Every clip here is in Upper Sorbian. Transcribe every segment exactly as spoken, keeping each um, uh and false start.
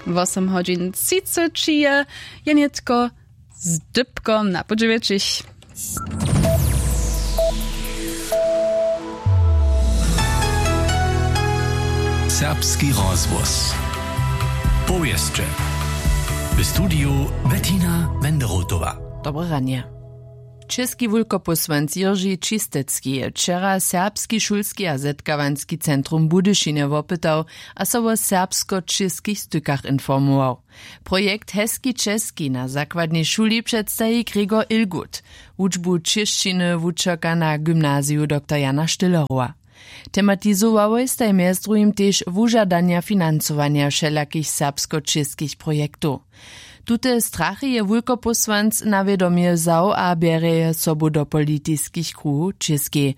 Wosym hodźin třiceći je, je nětko z dypkom na podźewjećich. Serbski rozhłos. Powěsće. W studiju Bettina Wenderotowa. Dobre ranje. Česki wulkopósłanc Jiržej Čistecki je wčera Serbski šulski a zetkawanski centrum w Budyšinje wopytał a so wo serbsko-čěskich stykach informował. Projekt Heski Česki na zakładnej šuli předstaji Gregor Ilgut. Wučbu čěšćiny wučerka na gymnaziju dr Jana Štyllerowa. Tematizowałoj staj mjez druhim tež wužadanja financowanja wšelakich serbsko-čěskich projektow. Tute strachy je wulkopósłanc na wědomje wzał a bjerje je sobu do politiskich kruhow w Čěskej.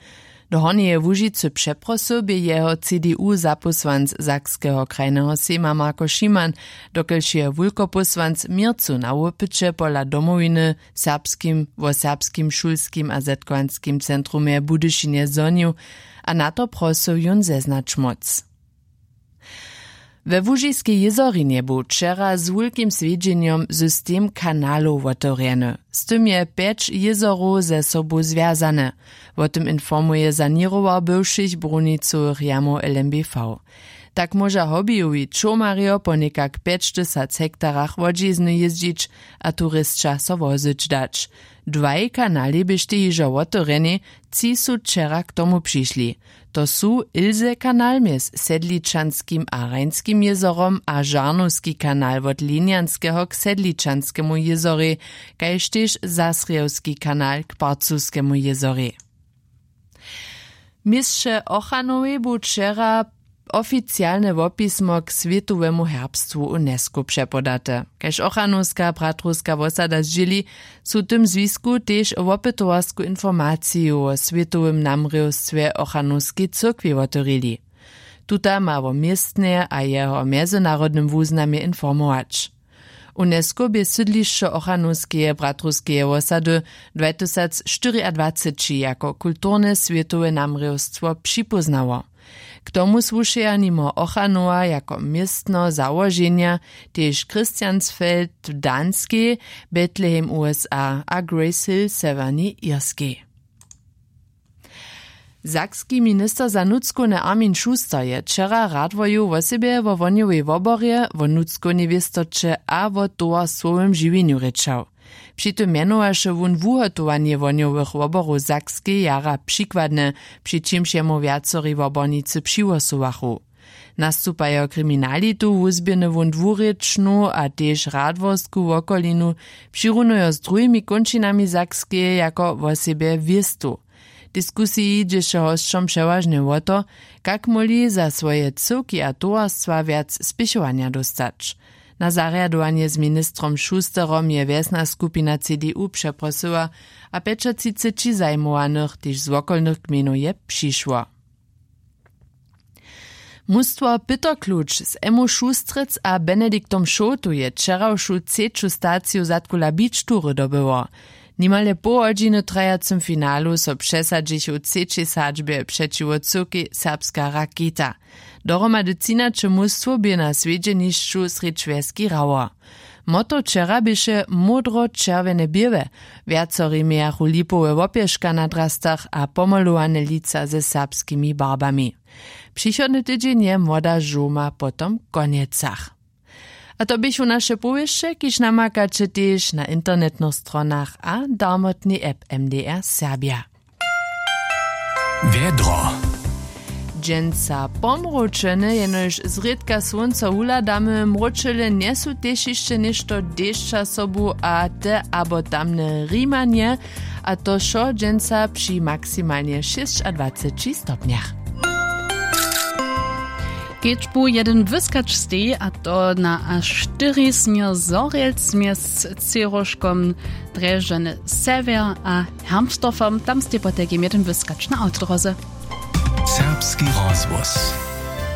Do Hornjeje Łužicy přeprosył bě jeho C D U zapósłanc Sakskeho krajneho sejma Marko Šiman, dokelž je wulkopósłanc měrcu na wopyće pola Domowiny serbskim wo serbskim šulskim a zetkowanskim centrumje w Budyšinje zhonił a na to prosył jón zeznać móc. We Łužiskej jězorinje bu wčera z wulkim swjedźenjom system kanalow wotewrjeny. Z tym je pjeć jězorow ze sobu zwjazane. Wo tym informuje saněrował bywšich brunicowych jamow L M B V. Tak móža hobbyjowi čołmarjo po někak pjećtysac hektarach wodźizny jězdźić a turisća so wozyć dać. Dwaj kanalej běštej hižo wotewrjenej, tři su wčera k tomu přišli. To su ilse kanal mjez sedličanskim a rajnskim jězorom a žarnowski kanal wot linjanskeho k sedličanskemu jězorej, kaž tež zasrjewski kanal k parcuskemu jězorej. W měsće ochranowej bu wčera oficialne wopismo k swětowemu herbstwu unesco přepodate. Kaž ochranowska bratrowska wosada zdźěli, su w tym zwisku tež wopytowarsku informaciju wo swětowym namrěwstwje ochranowskej cyrkwi wotewrili. Tuta ma wo městnje a jeho mjezynarodnym wuznamje informować. Unesco bě sydlišćo ochranowskeje bratrowskeje wosady dwajtysacštyriadwaceći jako kulturne swětowe namrěwstwo připóznało. K tomu słušeja nimo ochranowa jako městno załoženja tež christiansfeld w danskej, bethlehem usa a grace hill w sewjernej irskej. Sakski minister za nutřkowne armin schuster je wčera radworju wosebje wo wohnjowej woborje, wo nutřkownej wěstoće a wo towarstwowym žiwjenju rěčał. Při tym mjenowaše wón wuhotowanje wohnjowych woborow w sakskej jara přikładne, při čimž jemu wjacori wobornicy přihłosowachu. Nastupajo kriminalitu wuzběhny wón dwurěčnu a tež radworsku wokolinu, přirunujo z druhimi kónčinami sakskeje jako wosebje wěstow. W diskusiji dźěše hosćom přewažnje wo to, kak móhli za swoje cyłki a towarstwa wjac spěchowanja dóstać. Na zarjadowanje z ministrom schusterom je wjesna skupina cdu přeprosyła, a pjećatřiceći zajimowanych tež z wokolnych gmejnow je přišło. Mustwo pytokluč z emmu šustrec a benediktom šołtu je wčerawšu třeću staciju zadkula beach tury dobyło. Nimale połhodźiny w trajacym finalu so přesadźichu w třećej sadźbje přećiwo cyłkej serbska raketa. Dohromady třinaće mustwow bě na swjedźenišću srjedź wjeski hrało. Motto wčera běše módro-čerwjene běłe. Wjacori mějachu lipowe wopješka na drastach a pomolowane lica ze serbskimi barbami. Přichodny tydźeń je młoda žołma potom w konjecach. A to běchu naše powěsće, kiž namakaće tež na internetnych stronach a darmotnej app mdr serbja. Wjedro. Dźensa pomróčene, jenož zrědka słónco wuhladamy. Mróčele njesu tež hišće něšto dešća sobu a te abo tamne rimanje. A to wšo dźensa při maksimalnje šěsćadwaceći stopnjach. Kedźbu jedyn wyskać steji, a to na a štyri směr zhorjelc mjez cěroškom drježdźany sewjer a hermstorfom. Tam stej potajkim jedyn wyskać na awtodróze. Serbski rozhłos.